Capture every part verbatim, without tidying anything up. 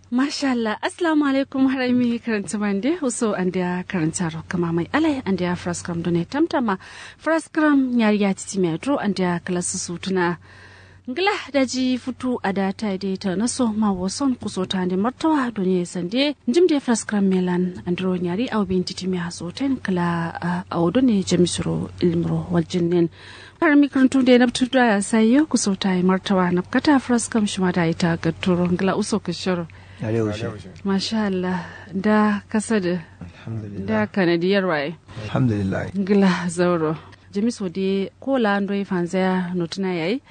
Mashallah, assalamu alaikum. Harami karanta mande uso andiya karanta ro kǝma mai alai andiya firaskram done tamtama. Firaskram nyari ya titi mai adro andiya kala susu tuna. Ngla daji futu ada ta de ta naso ma woson kuso ta ande martawa done sande. Njim de firaskram melan andro nyari au bin titi mai aso ten kala. Au done jamisuro ilmuro waljin nen. Har mi kǝrǝntu de nabtu da sayo kuso ta yi martawa nabkata firaskam shima da yi ta gatturo ngla uso kǝshiro. Masha Allah. Da kasa da da kanadi yarwaye. Alhamdulillah. Ngla zauro. Jamiso de kola ndo yi fanzaya notuna yayi.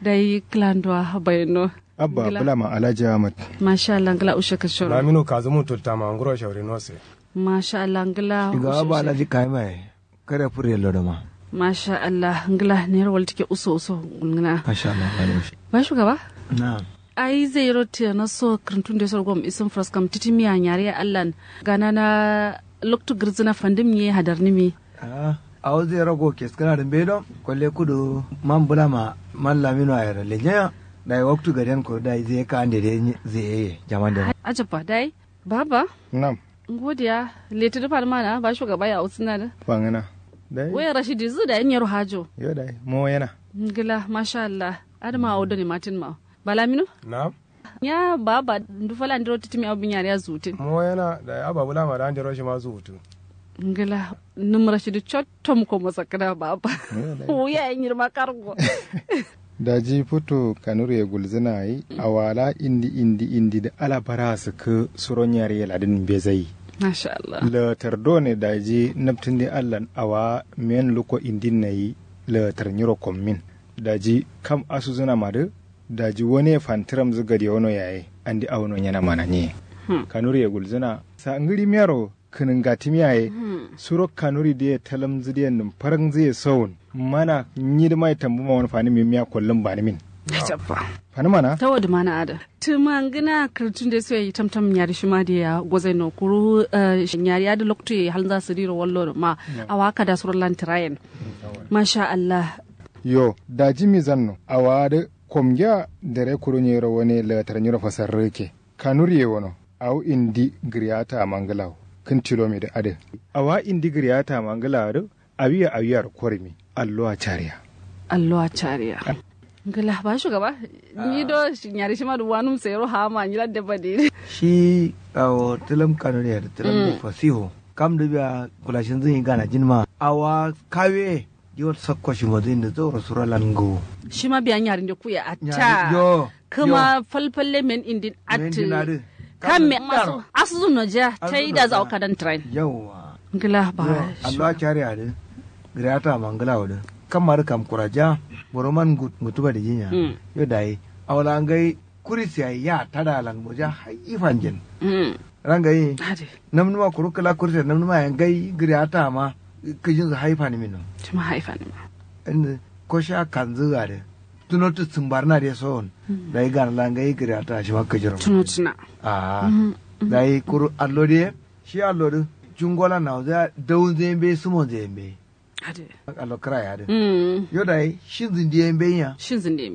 Da yi kla ndo a bayano. Abba bulama alhaji ahmad. Masha Allah ngla ushe kǝshiro. Lamino kazumu tultama nguro shauri nose. Masha Allah ngla shiga abba alhaji kaima yayi. Kare fure lodo ma. Masha Allah ngla nero waltike uso uso ngna. Masha Allah. Ba shugaba. Na'am. Ai zai ro tiya na so kǝrǝntun de so gom isin firaskam titi miya nyari allan gana na loktu gǝrzǝna fandim ye hadar nimi. Awo zai ro go keskana dǝmbe do kolle kudu man bulama man lamino ayero lejaya. Dai waktu gadiyan ko dai zai ka ande de zai ye jaman de. Ajabba dai. Baba. Nam. Ngodiya leti dǝ fanǝmana ba shugaba ya usǝna dǝ. Fangǝna. Dai waya rashidi zǝ dai nyero hajo. Yo dai mo yana. Ngla masha Allah. Adǝma awo done matin ma. Balamino. Nam. Nya baba ndu fala ndiro titimi awo binyari ya zutin. Mo yana dai aba bulama da ndiro shima zutu. Ngla nǝm rashidi cotto muko mosakkǝna baba. Wuya ye nyirma kargo. Daji futu kanuriye gulzǝna ye awala indi indi indi dǝ ala bara sǝkkǝ suro nyariye ladǝn mbezai. Mashallah. Laatar done daji nabtǝndi allan awa men luko indin nayi. Laatar nyiro kommin daji kam asuzǝna madǝ. Daji wane fantiramzǝ gade wono yaye andi awono nyena mana nye. Kanuriye gulzǝna sa ngǝri miyaro. Kǝnǝngatǝmiya ye suro kanuri dǝ ye talamzǝ dǝ ye nǝmfarangzǝ ye sowun mana nyidǝma ye tambǝma wani fanǝmin miya kollǝm banǝmin. Fanǝmana tawo dǝmana adǝ tǝmangǝna kǝrtun dǝ ye so ye tamtam nyari shima dǝ ye ya gozai no kuru. Nyari adǝ loktu ye halnza sǝdiro wallo dǝ ma awa kada suro lan tǝrayen. Masha allah. Yo daji mizanno awa adǝ komgiya dare kuru nyiro wane latar nyiro fasarrǝ ke. Kanuri ye wono awo indi gǝriyata mangǝlawo. Kǝn tilomidǝ adǝ awa indi gǝriyata mangǝlawo dǝ. Awiya awiyaro korǝmi allowa cariya. Allowa cariya. Ngla ba shugaba. Nyi do nyari shima dǝ wanum sayiro hama nyi ladde badǝ. Shi awo tǝlǝm kanuri ye dǝ tǝlǝm dǝ fasiho. Kam dǝ biya kulashinzǝ nyi ganajin ma awa kawe. Diwol sakko shimodǝ indi zauro suro lan ngǝwo. Shima biya nyarinde kuye atta. Kǝma falfalle men indin attǝ. Kamme asuzǝ nojiya taida zawo kadan tǝrain. Yauwa. Ngla ba. Allowa cari adǝ. Gǝriyata ma ngla wudǝ. Kamma dǝ kam kuraja. Boroman ngutu badǝ jinya. Yo dayi awo la ngai. Kuris yayi ya tada lan moja hai fanjin. Rangayi. Namnuma kuru kǝla kuris yayi namnuma yayi ngai gǝriyata ma. Kǝjinzǝ hai fanǝmin no. Shima hai fanǝmin. Indi kosha kanzǝ adǝ. Tunotu sǝmbarna dǝ ye sowon. Dayi ganala ngai gǝriyata shima kǝjiro. Tunotuna. Ahh. Dayi kuru allo dǝ ye. Shi allo dǝ cungolan nawonzǝ ya dawunzǝ ye mbeyi sǝmonzǝ ye mbeyi. Allo kǝra ye adǝ. Yo dayi shinzǝ ndiye mbeyi nya. Shinzǝ ndiye.